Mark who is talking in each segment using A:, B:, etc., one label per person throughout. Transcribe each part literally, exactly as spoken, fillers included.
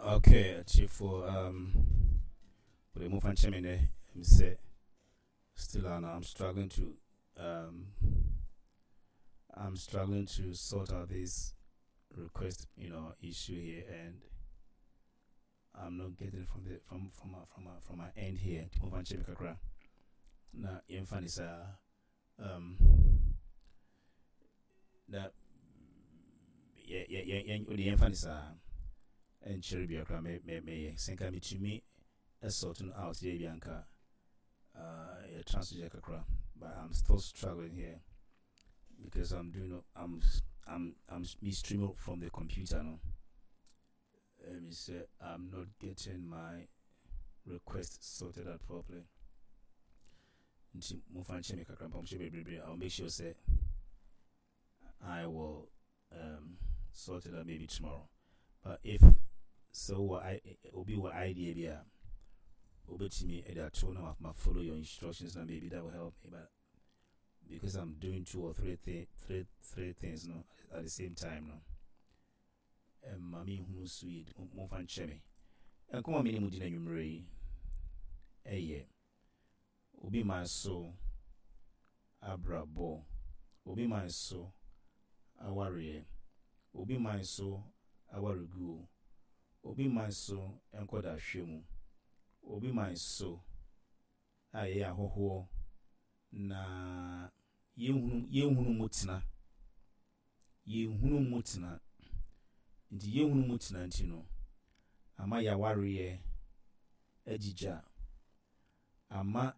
A: Okay, atiefoɔ, um, wode momfa nkyɛ me nɛ m sɛ still uh, I'm struggling to um, I'm struggling to sort out this request, you know, issue here, and I'm not getting it from the from from my, from my, from my end here. Momfa nkyɛ me kakra na yɛmfa ne saa um, na yɛ yɛ yɛ yɛn wode yɛmfa ne saa ɛnkyerɛ bia koraa mɛyɛ sɛ nka metumi sort no out deɛ bi anka uh, yɛtra so yɛ kakra, but I'm still struggling here because I'm doing I'm I'm I'm me streaming from the computer no. Let me say I'm not getting my request sorted out properly. Nti momfa nkyɛ me kakra mpamkyɛ bebrebe. I'll make sure say I will um, sort it out maybe tomorrow. But if so, what I obi wɔ idea bi a obetumi ɛde ato na ma follow your instructions na maybe that will help me. But because I'm doing two or three thi- three three things no at the same time no, ɛma me hu so yie. Momfa nkyɛ me. Nkɔmɔ mi ne mu di n'anwummerɛ yi ɛyɛ obi man so abrabɔ, obi man so awareɛ, obi man so awareguo, obi man so nkɔdahwɛ mu, obi man so a yɛyɛ ahɔhoɔ na yɛnhunu yɛnhunu mu tena, yɛnhunu mu tena. Nti yɛnhunu mu tena nti no ama yɛawareɛ agyigya, ama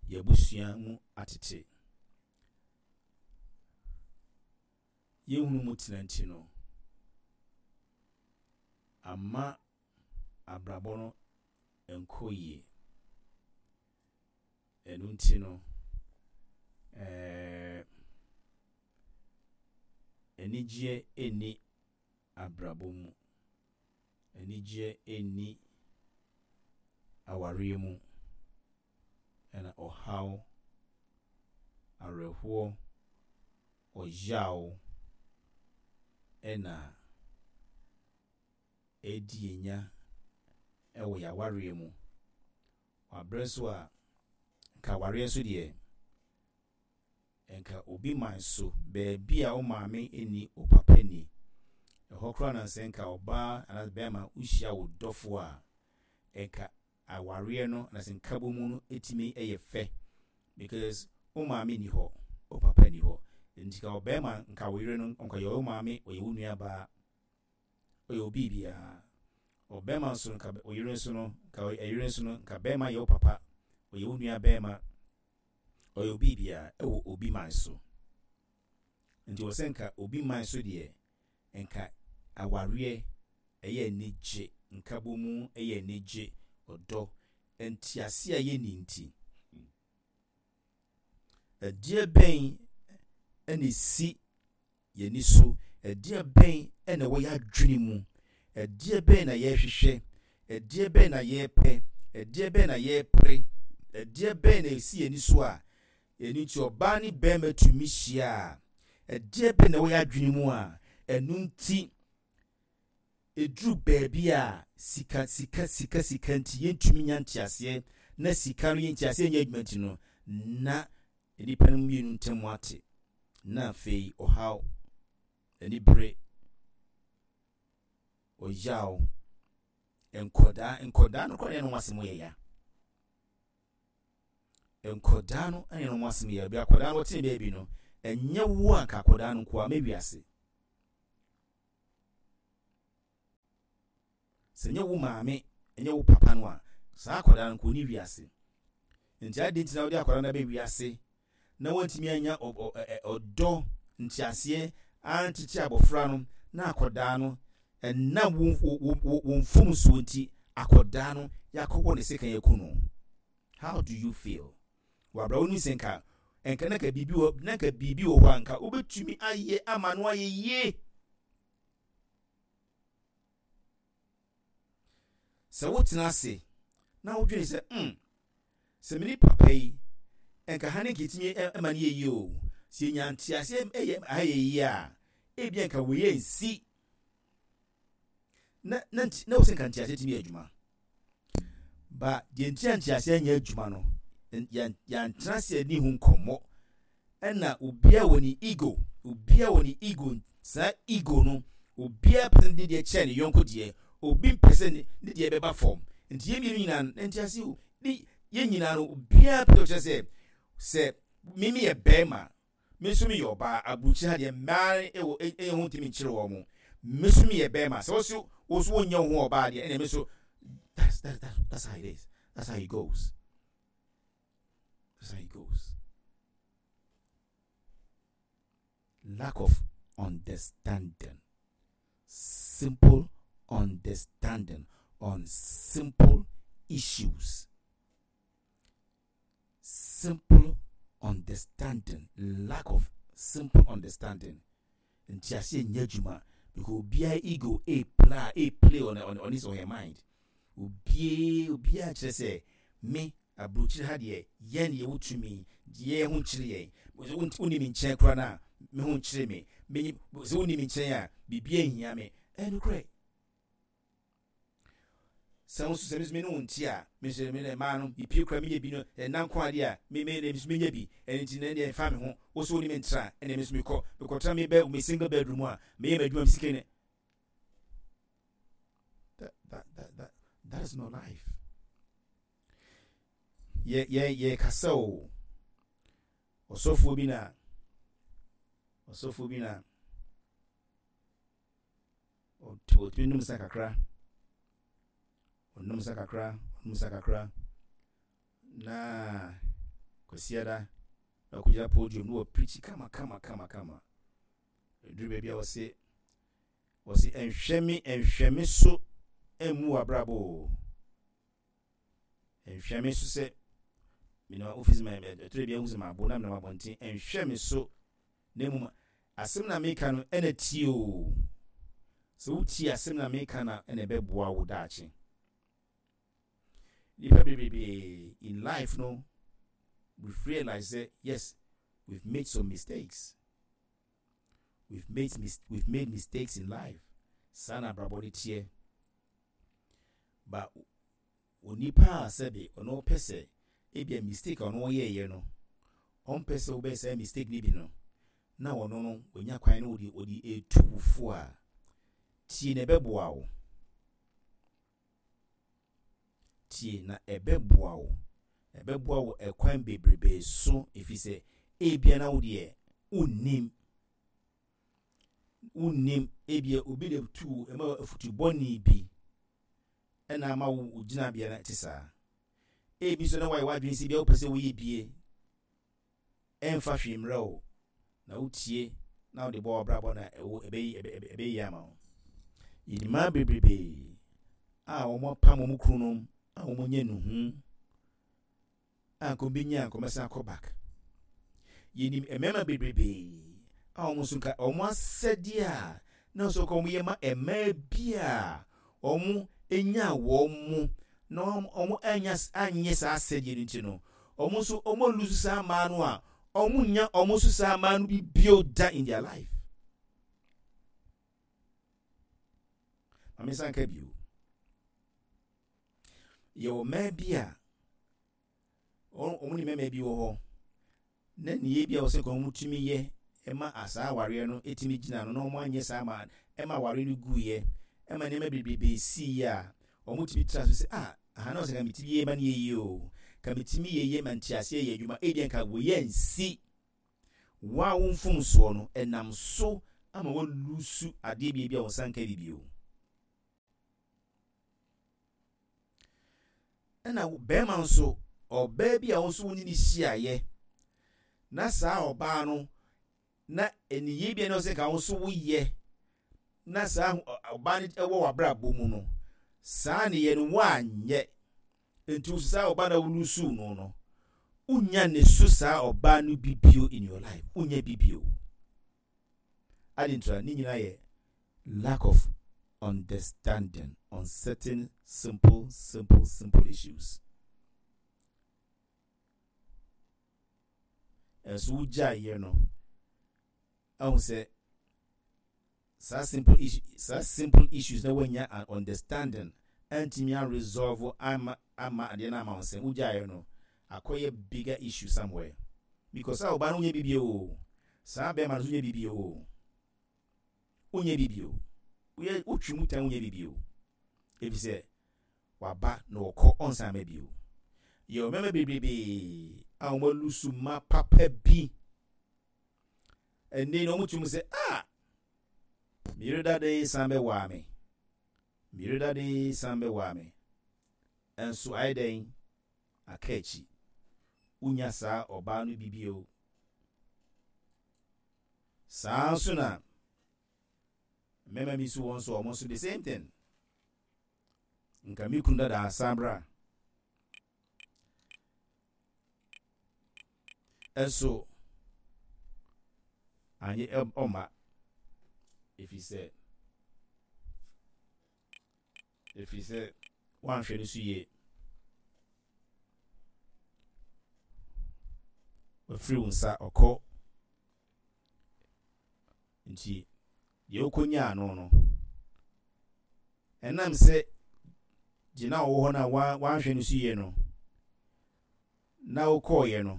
A: yɛabusua mu atete. Yɛnhunu mu tena nti no ama abrabɔ no nkɔ yie. Ɛno nti no ɛɛ anigyeɛ nni abrabɔ mu, anigyeɛ nni awareɛ mu, ɛna ɔhaw, awerɛhoɔ, ɔyaw ɛna ɛdi yɛnya ɛwɔ yɛawareɛ mu. Wabrɛ nso a nka awareɛ nso deɛ nka obi man so baabi a wo maame nni, wo papa ni ɛhɔ koraa na sɛ nka ɔbaa anaa bɛrima wohyia wo dɔfo a, nka awareɛ no na sɛ nkabɔ mu no ɛtumi ɛyɛ fɛ because wo maame ni hɔ, wo papa ni hɔ. Nti ka ɔbɛrima nka wo yere no nka yɛ wo maame, ɔyɛ wo nua baa, ɔyɛ obi biara. Ɔbɛrima nso nka ɔyere nso no nka ɛyere nso no nka bɛrima yɛ wo papa, ɔyɛ wo nua bɛrima, ɔyɛ obi biara ɛwɔ obi man so. Nti wɔ sɛ nka obi man so deɛ nka awareɛ ɛyɛ anigye, nkabɔ mu ɛyɛ anigye, ɔdɔ, ntease a yɛnni nti ɛdeɛ bɛn ɛna esi yɛni so? Ɛdeɛ bɛn ɛna ɛwɔ yɛn adwene mu? Ɛdeɛ bɛn na yɛrehwehwɛ? Ɛdeɛ bɛn na yɛrepɛ? Ɛdeɛ bɛn na yɛrepere? Ɛdeɛ bɛn na esi yɛni so a ɛno nti ɔbaa ne bɛrima tumi hyia a, ɛdeɛ bɛn na ɛwɔ yɛn adwene mu a ɛno nti ɛduru baabi a sika sika sika sika nti yɛntumi nya nteaseɛ, na sika no yɛ nteaseɛ nyɛ adwuma nti no na nnipa no mmienu ntam ate, na afei ɔhaw, anibere, ɔyaw, nkɔdaa nkɔdaa no koraa ne ho asɛm yɛ ya. Nkɔdaa no ne ho asɛm yɛ bi. Akɔdaa no wɔtene baabi no ɛnyɛ wo a nka akɔdaa no nkoa mɛwiase sɛ nyɛ wo maame, ɛnyɛ wo papa no a, saa akwadaa no nko ni wiase. Nti adi nti na wode akwadaa no abɛ wiase na wantumi anya ɔdɔ, nteaseɛ antete abɔfra no, na akwadaa no ɛnam wo wo wo mfomsoɔ nti akwadaa no yɛakɔwɔ ne sekan aku no, how do you feel? Wabra wo nim sɛ nka nka na nka biribi wɔ na nka biribi wɔ hɔ a nka wobɛtumi ayɛ ama no ayɛ yie. Sɛ wotena ase na wodwene sɛ mm sɛ mene papa yi nka ha ne nka ɛtumi ma no yɛ yie o, sɛ yɛnya nteaseɛ ɛyɛ ha yɛ yie a, ebia nka wei nsi. Na na na wosɛ nka nteaseɛ tumi yɛ adwuma. Ba deɛ nti a nteaseɛ nyɛ adwuma no, yɛantena ase ani ho nkɔmmɔ. Ɛna obiara wɔ ne ego, obiara wɔ ne ego. Saa ego no, obiara pɛ sɛ ne deɛ kyɛn ne yɔnko deɛ, obi mpɛ sɛ ne deɛ bɛba fam. Nti yɛn mmienu nyinaa no, ntease o, ne yɛn nyinaa no, obiara pɛ sɛ ɔkyerɛ sɛ sɛ me meyɛ bɛrima, me nso meyɛ ɔbaa. Aburukyiri ha deɛ, mmaa ɛwɔ ɛyɛ ho ntumi nkyerɛ wɔn mo. Me nso meyɛ bɛrima, sɛ wɔso wɔso wɔnyɛ wo ho ɔbaa deɛ, ɛna me nso. that's that, that, that's how it is, that's how it goes, that's how it goes. Lack of understanding, simple understanding on simple issues, simple understanding, lack of simple understanding. Ntiaseɛ nyɛ adwuma because obiara ego a play a play on, on, on his or her mind. obiara obiara kyerɛ sɛ me aburokyire ha deɛ, yɛn deɛ wotumi yɛn ho nkyerɛ yɛn. Wonni me nkyɛn koraa no a, me ho nkyerɛ me. Sɛ wonni me nkyɛn a, biribiara nhia me. Ɛyɛ nokorɛ sɛ wo nso sɛ me nso me ne wo nte a, me nso me ne mmaa no mepie kora menya bi no ɛna nko adeɛ a me me me nso menya bi. Ɛno nti na ɛdeɛ mfa me ho. Wo so wo ne me ntra, ɛna me nso mekɔ mekɔtra me bɛ me single bedroom a meyɛ m'adwuma, me sika ne that that that that that is not life. Yɛ yɛ yɛ kasa o. Ɔsɔfoɔ bi na ɔsɔfoɔ bi na ɔtumi nom nsa kakra, ɔnom nsa kakra, ɔnom nsa kakra na Kwasiada na ɔkɔgyina podium na wɔpreach kama kama kama kama. Ɛduru baabi a wɔse wɔse ɛnhwɛ me, ɛnhwɛ me so ɛmmu w'abrabɔ o, ɛnhwɛ me so sɛ menam office ma ɛtɔrɔ bi ahu sɛ maabo na menam abɔnten. Ɛnhwɛ me so, na mmom asɛm na meka no ɛna tie o. Sɛ wotie asɛm na meka na ɛna ɛbɛboa wo daakye. Nipa bebree in life no, we've realized that yes, we've made some mistakes, we've made mis we've made mistakes in life. Saa na abrabɔ no teɛ. Ba onipa a sɛbe ɔno pɛ sɛ ebia mistake a ɔno ɔyɛɛyɛ no, ɔmpɛ sɛ wobɛyɛ saa mistake no bi no, na ɔno no onya kwan no ɔde ɔde etu wo fo a, tie na ɛbɛboa wo. Tie na ɛbɛboa wo, ɛbɛboa wo ɛkwan bebrebe so, ɛfiri sɛ ebia na wo deɛ wonnim, wonnim. Ebia obi na tu ɛma afutu bɔne bi ɛna ama wo gyinabea no te saa. Ebi nso na wayɛ w'adwene sɛ bia wopɛ sɛ woyɛ bie, ɛmfa hwee mmerɛ wo, na wotie na wode bɔ w'abrabɔ na ɛwɔ ɛbɛyi ɛbɛyi ama wo. Yɛnimaa bebrebe a wɔn apam wɔn kununom a wɔn nyɛ nuhu a nka wɔbɛnya nka wɔbɛsan akɔ back. Yɛnim mmarima bebrebe a wɔn nso nka wɔn asɛdeɛ a na nso nka wɔn yɛ ma mmaa bi a wɔn nya wɔn mu na wɔn anya anyɛ saa asɛdeɛ no nti no, wɔn nso wɔn alose saa mmaa no a wɔn nya wɔn nso saa mmaa no bi bio da in their life. Maame san ka bio, yɛwɔ mmaa bi a wɔn ne mmarima bi wɔ hɔ na nneyɛe bi a wɔsɛ nka wɔn tumi yɛ ɛma asaa awareɛ no ɛtumi gyina no na wɔn anyɛ saa ma ɛma awareɛ no guiɛ, ɛma nneɛma bebrebe sii a wɔn tumi tena so sɛ, ah, aha na wɔsɛ nka metumi yɛ ma no yɛ yie o, ka metumi yɛ yie ma nteaseɛ yɛ adwuma. Ebi nka wɔyɛ nsi wɔn a wɔn mfomsoɔ no ɛnam so ama wɔalose adeɛ bi bi a wɔn nsa nka bi bio. Ɛna bɛrima nso, ɔbaa bi a wɔn nso wɔne ne hyiaeɛ na saa ɔbaa no na aniyie bi a na ɔsɛ nka wɔn nso woyɛ na saa ɔbaa no ɛwɔ w'abrabɔ mu no, saa ne no woanyɛ nti wo saa ɔbaa no a wolose no no wonya ne so saa ɔbaa no bi bio in your life, wonya bi bio ade ntura. Ne nyinaa yɛ lack of understanding on certain simple simple simple issues. Ɛnso wogyaeɛ no ahu sɛ Saa simple issue, saa simple issues na woanya an understanding antumi a resolve ama ama adeɛ no ama wo nsɛm wogyaeɛ no akɔyɛ bigger issue somewhere because saa ɔbaa no wonyɛ bibie o, saa bɛrima no nso wonyɛ bibie o, wonyɛ bibie o, woyɛ wotwi mu tan, wonyɛ bibie o, efisɛ waba na ɔkɔ, ɔnsan ma bio. Yɛ mmarima bebrebee a wɔn alose mma papa bi ɛnne na wɔn tum sɛ, "Ah, meyere dada yi san bɛwaa me, meyere dada yi san bɛwaa me." Ɛnso ayɛ dɛn aka akyi, wonya saa ɔbaa no bi bio. Saa nso na mmarima bi nso wɔn nso wɔn nso the same thing, nka me kunu dada asan bra. Ɛnso anyɛ ɔma ɛfiri sɛ ɛfiri sɛ woanhwɛ no so yie, wafiri wo nsa ɔkɔ. Nti deɛ wokɔnyaa no no ɛnam sɛ gyina a ɔwɔ hɔ no a wanhwɛ no so yie no na wokɔɔyɛ no,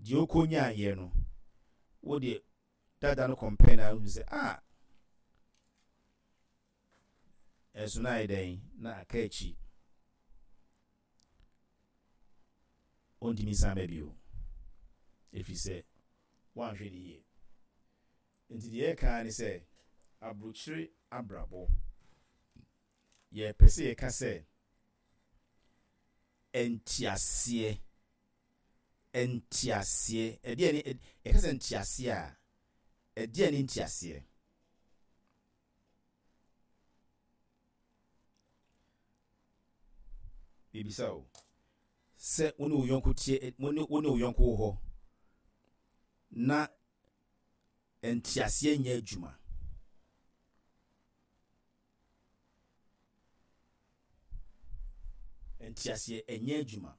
A: deɛ wokɔnyaayɛ no, wode dada no compare na wohu sɛ, ah, ɛnso na ayɛ dɛn na aka akyi, ɔntumi nsan ba bio ɛfiri sɛ woanhwɛ no yie. Nti deɛ yɛka ne sɛ aburokyire abrabɔ, yɛpɛ sɛ yɛka sɛ nteaseɛ, nteaseɛ ɛdeɛ ne yɛka sɛ nteaseɛ a, ɛdeɛ ne nteaseɛ? Bibisa o, sɛ wo ne wo yɔnko tie, wo ne wo ne wo yɔnko wɔ hɔ na nteaseɛ nyɛ adwuma, nteaseɛ ɛnyɛ adwuma.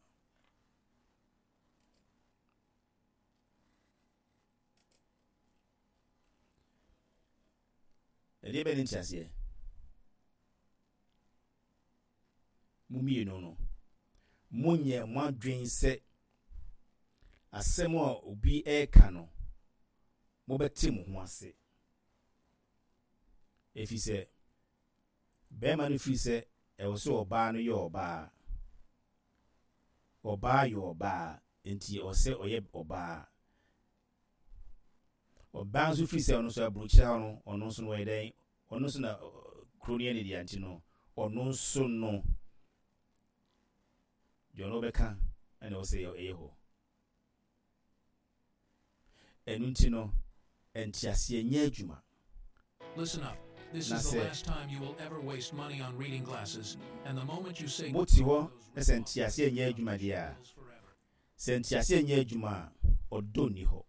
A: Ɛdeɛ bɛ ne nteaseɛ? Mo mmienu no monyɛ mo adwen sɛ asɛm a obi ɛreka no mobɛte mo ho ase, ɛfiri sɛ bɛrima no firi sɛ ɛwɔ sɛ ɔbaa no yɛ ɔbaa, ɔbaa yɛ ɔbaa, nti ɛwɔ sɛ ɔyɛ ɔbaa. Ɔbaa nso firi sɛ ɔno nso aburokyire ha no, ɔno nso no ɔyɛ dɛn, ɔno nso na kuro no yɛ ne deɛ, nti no ɔno nso no deɛ ɔno bɛka ɛna ɛwɔ sɛ ɛyɛ hɔ. Ɛno nti no nteaseɛ nyɛ adwuma.
B: Listen up. This
A: Na
B: is the
A: sɛ
B: last time you will ever waste money on reading glasses, and the moment you say
A: mote hɔ na sɛ nteaseɛ nyɛ adwuma deɛ a, sɛ nteaseɛ nyɛ adwuma a, ɔdɔ nni hɔ.